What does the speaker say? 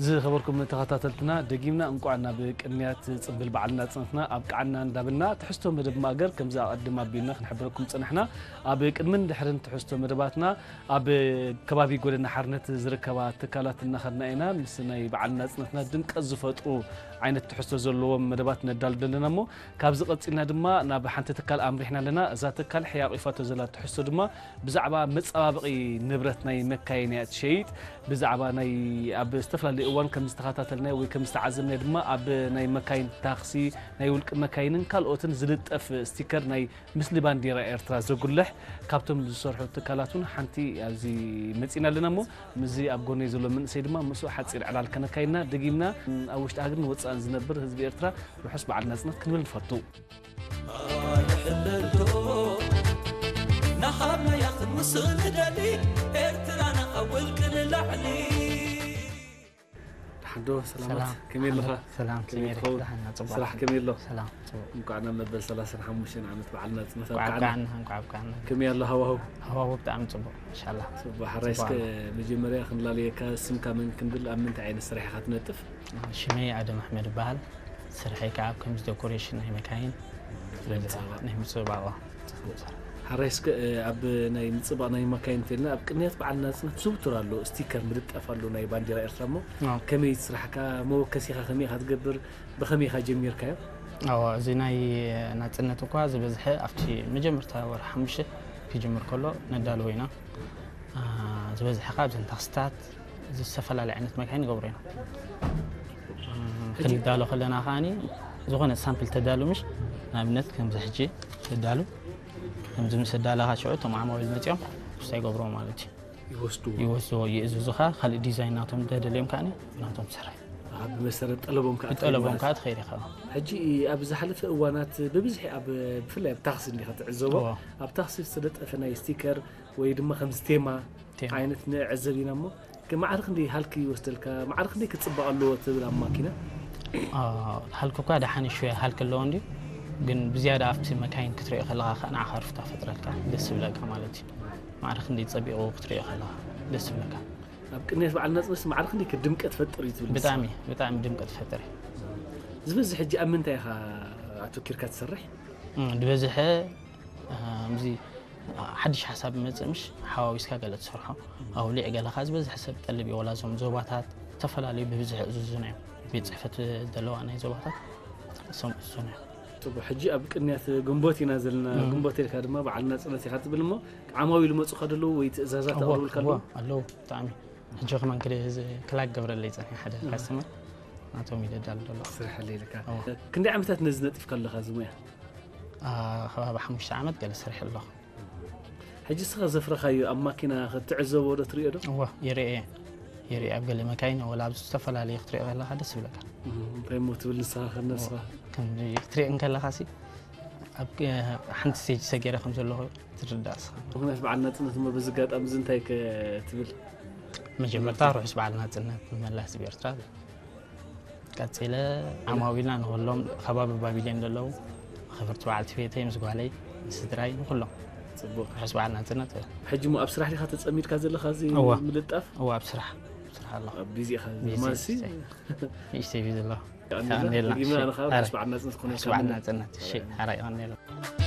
ዝኸበርኩም ተኸታተልትና፣ ደጊምና እንቋዕ ናብ ቅንያት ጽምብል በዓል ናጽነትና ኣብቅዓና እንዳበልና፣ ትሕዝቶ መደብ ማእገር ከምዚ ኣቐድም ኣቢልና ክንሕብረኩም ጸናሕና። ኣብ ቅድምን ድሕርን ትሕዝቶ መደባትና ኣብ ከባቢ ጎደና ሓርነት ዝርከባ ትካላት እናኸድና ኢና ምስ ናይ በዓል ናጽነትና ድምቀት ዝፈጥሩ ዓይነት ትሕዝቶ ዘለዎም መደባት ነዳሉ ዘለና እሞ፣ ካብዚ ቀጺልና ድማ ናብ ሓንቲ ትካል ኣምሪሕና ኣለና። እዛ ትካል ሕያቕ ኢፋቶ ዘላ ትሕዝቶ ድማ ብዛዕባ መጸባበቒ ንብረት ናይ መካይን እያ ትሸይጥ። ብዛዕባ ናይ ኣብ ዝተፈላለዩ እዋን ከም ዝተኸታተልናዮ ወይ ከም ዝተዓዘብናዮ ድማ ኣብ ናይ መካይን ታክሲ፣ ናይ ውልቂ መካይንን ካልኦትን ዝልጠፍ ስቲከር ናይ ምስሊ ባንዲራ ኤርትራ ዘጉልሕ ካብቶም ዝሰርሑ ትካላት እውን ሓንቲ ኣብዚ መጺና ኣለና እሞ ምስዚ ኣብ ጎነይ ዘሎ መንእሰይ ድማ ምስኡ ሓጺር ዕላል ከነካይድና ደጊምና ኣብ ውሽጢ ሃገርን ወጻእን ዝነብር ህዝቢ ኤርትራ ርሑስ በዓል ናጽነት ክንብል ንፈቱ። ኣይሕለልቶ ንሓመያ ክንውስኽ ንደሊ ኤርትራና ካብ ውልቂ ንላዕሊ። ደሓን ዶ? ሰላማት? ከመይ ኣለኻ? ሰላም ከመይ ሰሜሪ ትኸውን? ደሓና ጽቡቕ ስራሕ ከመይ ኣሎ? ሰላም ጽቡቕ እንኳዕ ናብ መበል ሰላሳን ሓሙሽተን ዓመት በዓል ናጽነት እንኳዕ ኣብቃዕና። ኣብቃዕና እንኳዕ ኣብቃዕና ከመይ ኣሎ ሃዋህው? ሃዋህው ብጣዕሚ ጽቡቕ ኢንሻላህ ጽቡቕ። ሓራይ እስከ ጽቡቕ። መጀመርያ ክንላለየካ፣ ስምካ መን ክንብል፣ ኣብ ምንታይ ዓይነት ስራሕኻ ትነጥፍ? ሽመይ ኣደም ኣሕመድ ይበሃል። ስርሐይ ከዓ ከምዚ ዴኮሬሽን ናይ መካይን ናይ ምጽባቕ። ናይ ምጽባቕ ሓራይ እስከ ኣብ ናይ ምጽባቕ ናይ መካይን እንተልና ኣብ ቅንያት በዓል ናጽነት ዝውቱር ኣሎ፣ ስቲከር ምልጣፍ ኣሎ ናይ ባንዲራ ኤርትራ እሞ አዎ። ከመይ ስራሕካ መወከሲኻ ከመይ ኢኻ ትገብር? ብኸመይ ኢኻ ጀሚርካዮ? ኣዎ፣ እዚ ናይ ናጽነት እኳ ዝበዝሐ ኣብቲ መጀመርታ ወርሒ ሓሙሽተ ክጅምር ከሎ ነዳልዎ ኢና። አ፣ ዝበዝሐ ካብ ዘን ታክስታት ዝተፈላለዩ ዓይነት መካይን ይገብሩ ኢና። ክንዳሎ ከለና ከዓኒ ዝኾነ ሳምፕል ተዳሉ ምሽ ንኣብነት ከምዚ ሕጂ ተዳሉ ከምዚ ምስ ኣዳለኻ ሽዑ እቶም ዓማዊል መፂኦም እንታይ ይገብርዎ ማለት እዩ ይወስድዎ። ይወስድዎ ይእዝዙኻ ካልእ ዲዛይን ናቶም ደደልዮም ከዓኒ ናቶም ትሰርሕ ኣብ መሰረት ጠለቦም ከዓ ብጠለቦም ማለት ከዓ እዩ። ትኸይድ ኢኻ ሕጂ ኣብ ዝሓለፈ እዋናት ብብዝሒ ኣብ ብፍላይ ኣብ ታክሲ እንዲኻ ትዕዘቦ እዎ። ኣብ ታክሲ ዝተለጠፈ ናይ ስቲከር ወይ ድማ ከምዚ ቴማ ቴማ። ዓይነት ንዕዘብ ኢና እሞ ማዕረ ክንደይ ሃልኪ ይወስደልካ ማዕረ ክንደይ ክፅባቕ ኣለዎ ትብል ኣብ ማኪና ሃልክ እኳ ደሓን ሹ ሃልክ ኣለዎ እንዲ ግን ብዝያዳ ኣብቲ መካይን ክትሪኦ ከለኻ ከዓ ንዓኻ ርፍታ ፈጥረልካ ደስ ዝብለካ ማለት እዩ ማዕረ ክንደይ ፀቢቑ ክትሪኦ ከለኻ ደስ ዝብለካ ኣብ ቅንያት በዓል ናፅነት ማዕረ ክንደይ ድምቀት ፈጥር እዩ ትብል ንስኻ? ብጣዕሚ ብጣዕሚ ድምቀት ፈጥር እዩ ዝበዝሕ ሕጂ ኣብ ምንታይ ኢኻ ኣተኪርካ ትሰርሕ እም፣ ዝበዝሐ እምዚ ሓድሽ ሓሳብ መፅእ ምሽ ሓዋዊስካ ገለ ትሰርሖ ኣውሊዕ ገለ ከዓ ዝበዝሐ ሰብ ጠልብ እዩ ወላ እዞም ዞባታት ዝተፈላለዩ ብብዝሒ እዝዙና እዮም ቤት ፅሕፈት ዘለዋ ናይ ዞባታት እሶም እዝዙና እዮም ጥቡ ሕጂ ኣብ ቅንያት ግንቦት ኢና ዘለና እም። ግንቦት ኢልካ ድማ በዓል ናፅነት ኢኻ ትብል እሞ ዓማዊ ልመፁኻ ደለዉ ወይ ትእዛዛት እዎ፣ ኣቕርብልካ ኣለዉ እዎ፣ ኣለዉ ብጣዕሚ ሕጂ ከማን ክደ ክላክ ገብረለይ ፀኒሐ ሓደ ካስተመር ናቶም ይደዳሉ ዘሎ ስርሐለ ኢልካ እዎ። ክንደይ ዓመታት ነዚ ነጢፍካ ኣለኻ እዚ ሙያ አ፣ ከባቢ ሓሙሽተ ዓመት ገለ ስርሕ ኣለኹ ሕጂ ስኻ ዘፍረኻዮ ኣብ ማኪና ክትዕዘቦ ዶ ትሪኦ ዶ እዎ ይርኤ ይርኤ ኣብ ገለ መካይን ወላ ኣብ ዝተፈላለዩ ክትሪኦ ከለካ ደስ ይብለካ እንታይ ሞ ትብል ንስኻ ከነስኻ ክንዲ ክትሪኦ እንከለካ ሲ ኣብ ሓንቲ ስቴጅ ሰገረ ከም ዘለኹ ትርዳእ ስኻ ምክንያት በዓል ናፅነት ሞ በዚ ኣጋጣሚ እዚ እንታይ ከ ትብል መጀመርታ ርሑስ በዓል ናፅነት ንመላ ህዝቢ ኤርትራ ቀፂለ ዓማዊልና ንኩሎም ከባቢ ባቢሌን ዘለዉ ክብርቲ በዓልቲ ቤተይ ምስ ጓለይ ንስድራይ ንኩሎም ፅቡቅ ርሑስ በዓል ናፅነት ሕጂ ሞ ኣብ ስራሕ ዲኻ ተፀሚድካ ዘለኻ እዚ እዋ። ምልጣፍ እዋ ኣብ ስራሕ ኣብ ስራሕ ኣለኹ ኣብ ቢዚ ኢኻ ቢዚ ማሲ ንእሽተይ ቢዚ ኣለኹ ቀኒልና ቀኒልና። ደጊምና ንኻ ኣረ። ርሑስ በዓል ናፅነት ኮነ ርሑስ በዓል ናፅነት እሺ ሓራይ ቀኒልና